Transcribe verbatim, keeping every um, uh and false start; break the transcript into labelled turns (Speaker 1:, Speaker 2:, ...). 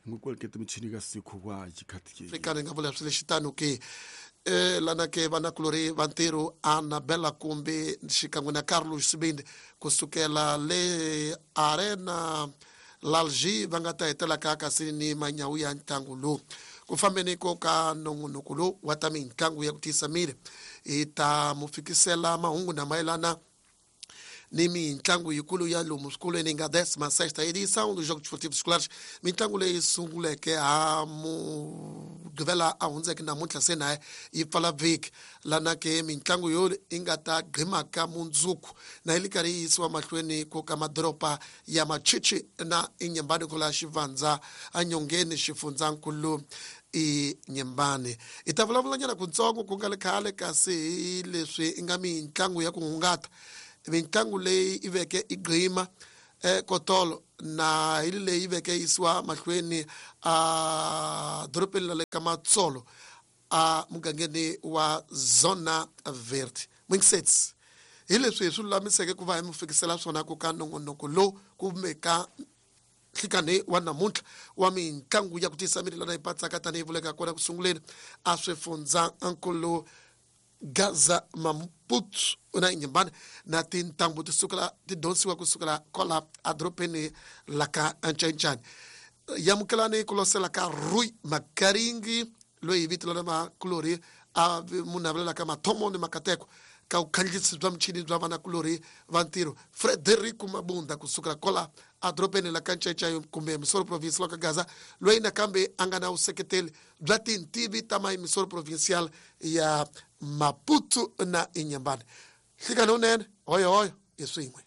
Speaker 1: Ngokwelikete michini ka sekhuwa jikhathi
Speaker 2: Afrika ni nga vula swi lexi tano ke eh lana ke vanakulori va ntirho Annabella kumbe xikan'we na Carlos Sibindi kusukela le Arena Lalji va nga ta hetelaka kasi ni manyawu ya ntlangu lowu ku fambeni ko ka nongonoko lowu wa ta mitlangu ya ku tiyisa miri hi ta mu fikisela mahungu na mayelana ni mitlangu yikulu ya lomu swikolweni nga décima sexta edição dos Jogos Desportivos Escolares mitlangu leyi sunguleke ha mugqivela a hundzeke namuntlha se na yi pfala vhiki lana ke mitlangu yo yi nga ta gqimaka mundzuku na yi li karhi yi yisiwa mahlweni ko ka madoroba ya Machichi na Inyambani kola xivandza enyongeni xifundzankulu Inhambane hi ta vulavulanyana kutsongo ku nga le khale kasi hi leswi i nga mitlangu ya ku hungata mitlangu leyi i veke i gqima eh, kotolo na hi leyi yi veke yisiwa mahlweni a dorobeni la le ka Matsolo a mugangeni wa Zona Verde Mwingisets hi leswi hi swi lulamiseke ku va hi mi fikisela swona ku ka nongonoko lowu kumbe ka nhlikani wa namuntlha wa mitlangu ya ku tiyisa miri lana yi patsaka tanihi vuleka kona ku sunguleni a swifundza nkulu Gaza Maputo na Inhambane na tintambu ti sukela ti donsiwa kusukela kwala edorobeni la ka Ncancani yamukelani ku losela ka Rui Makaringi loyi hi vito lana makulori a munhu a vulelaka mathomo ni makateko ka vukhandziyisi bya michini bya vanakulori va ntirho Frederico Mabunda kusukela kwala edorobeni la ka Ncancani kumbe Missouri Province la ka Gaza loyi nakambe a nga na vuseketeli bya tintivi ta Missouri Provincial ya Maputo na Inhambane nhlikani wunene hoyo hoyo hi swin'we.